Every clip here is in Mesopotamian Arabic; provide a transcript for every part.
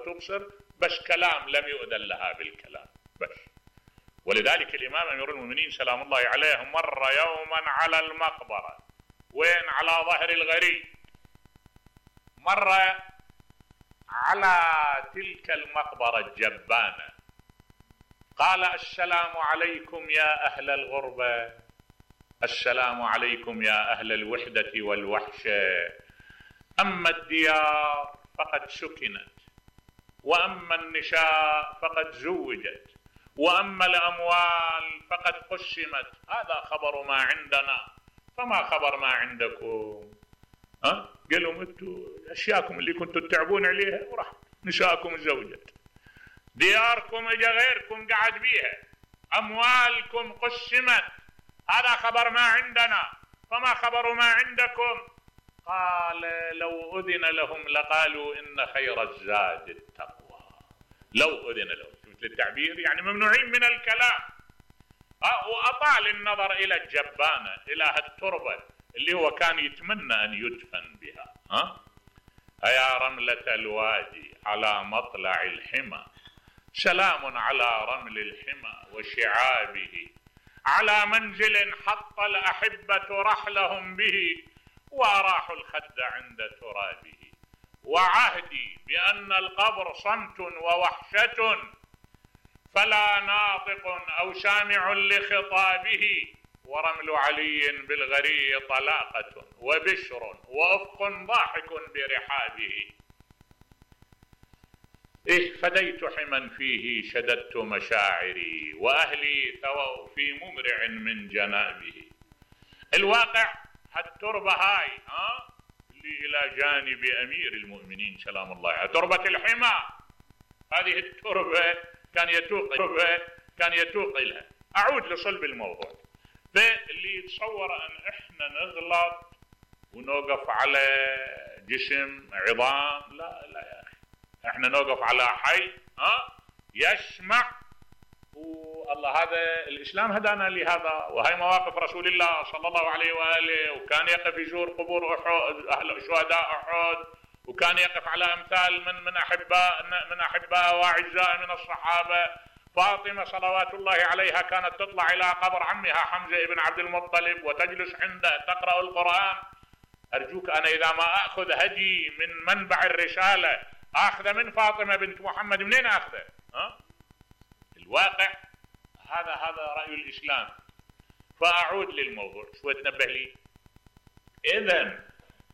وتبصر، بس كلام لم يؤذن لها بالكلام بس. ولذلك الإمام أمير المؤمنين سلام الله عليه مر يوما على المقبرة، وين؟ على ظهر الغريب، مر على تلك المقبرة الجبانة، قال: السلام عليكم يا أهل الغربة، السلام عليكم يا أهل الوحدة والوحشة، أما الديار فقد سكنت، وأما النساء فقد زوجت، وأما الأموال فقد قسمت، هذا خبر ما عندنا، فما خبر ما عندكم؟ قال لهم: انتم أشياءكم اللي كنتوا تتعبون عليها وراح، نساءكم زوجت، دياركم اجا غيركم قعد بيها، أموالكم قسمت، هذا خبر ما عندنا، فما خبر ما عندكم؟ قال: لو أذن لهم لقالوا إن خير الزاد التقوى. لو أذن لهم، مثل التعبير يعني ممنوعين من الكلام. وأطال النظر إلى الجبانة، إلى التربة اللي هو كان يتمنى أن يدفن بها. أيا رملة الوادي على مطلع الحمى، سلام على رمل الحمى وشعابه، على منزل حط الأحبة رحلهم به، وأراحوا الخد عند ترابه، وعهدي بأن القبر صمت ووحشة، فلا ناطق أو سامع لخطابه، ورمل علي بالغري طلاقة، وبشر وأفق ضاحك برحابه. فديت حما فيه شددت مشاعري، وأهلي ثووا في ممرع من جنابه. الواقع هالتربة هاي اللي إلى جانب أمير المؤمنين سلام الله عليه، تربة الحمى، هذه التربة كان يتوق لها. أعود لصلب الموضوع. فاللي يتصور أن إحنا نغلط ونوقف على جسم عظام، لا يا أخي، إحنا نوقف على حي يسمع. والله هذا الإسلام هدانا لهذا، وهي مواقف رسول الله صلى الله عليه وآله، وكان يقف يزور قبور أهل شهداء أحد، وكان يقف على أمثال من أحباء وأعزاء من الصحابة. فاطمة صلوات الله عليها كانت تطلع إلى قبر عمها حمزة بن عبد المطلب وتجلس عنده تقرأ القرآن. أرجوك أنا إذا ما أخذ هدي من منبع الرسالة أخذ من فاطمة بنت محمد، منين أخذه؟ الواقع هذا رأي الإسلام. فأعود للموضوع شوي تنبه لي. إذن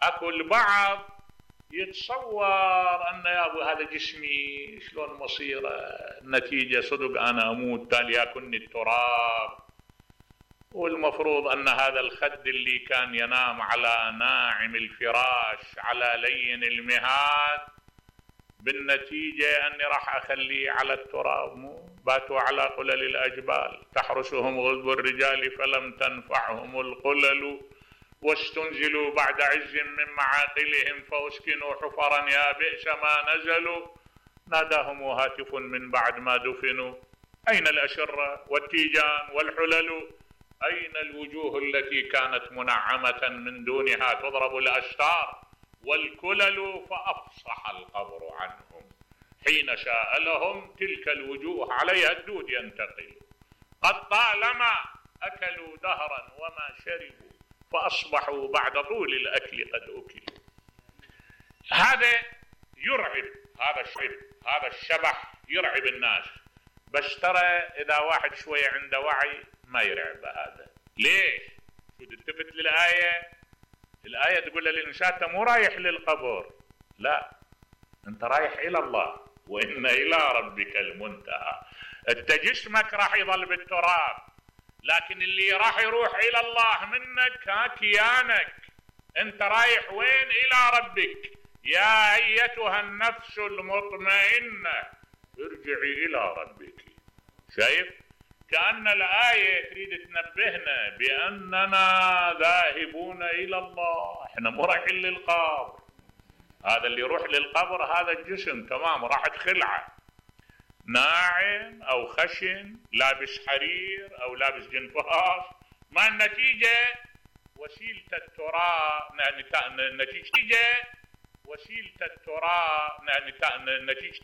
أكو البعض يتصور أن يا أبو هذا جسمي شلون مصيره، النتيجة صدق أنا أموت تالي يأكلني التراب، والمفروض أن هذا الخد اللي كان ينام على ناعم الفراش على لين المهاد، بالنتيجة أني راح أخليه على التراب. باتوا على قلل الأجبال تحرسهم غضب الرجال فلم تنفعهم القلل، واستنزلوا بعد عز من معاقلهم فأسكنوا حفرا يا بئس ما نزلوا، ناداهم هاتف من بعد ما دفنوا أين الأشرة والتيجان والحلل، أين الوجوه التي كانت منعمة من دونها تضرب الأستار والكلل، فأفصح القبر عنهم حين شاء لهم تلك الوجوه عليها الدود ينتقل، قد طالما أكلوا دهرا وما شربوا فأصبحوا بعد طول الأكل قد أكلوا. هذا يرعب، هذا الشبح يرعب الناس، بس ترى إذا واحد شوية عنده وعي ما يرعب هذا. ليش؟ شو تلتفت الآية تقول للإنسان أنت مو رايح للقبر، لا، أنت رايح إلى الله، وإن إلى ربك المنتهى. أنت جسمك راح يظل بالتراب، لكن اللي راح يروح إلى الله منك كيانك. أنت رايح وين؟ إلى ربك. يا أيتها النفس المطمئنة ارجعي إلى ربك. شايف؟ كأن الآية تريد تنبهنا بأننا ذاهبون إلى الله، احنا مو رايحين للقبر. هذا اللي يروح للقبر هذا الجسم تمام راحت خلعة، ناعم أو خشن، لابس حرير أو لابس جنفاس، ما النتيجة؟ وسيلة التراب، نتيجة وسيلة التراب، نتيجة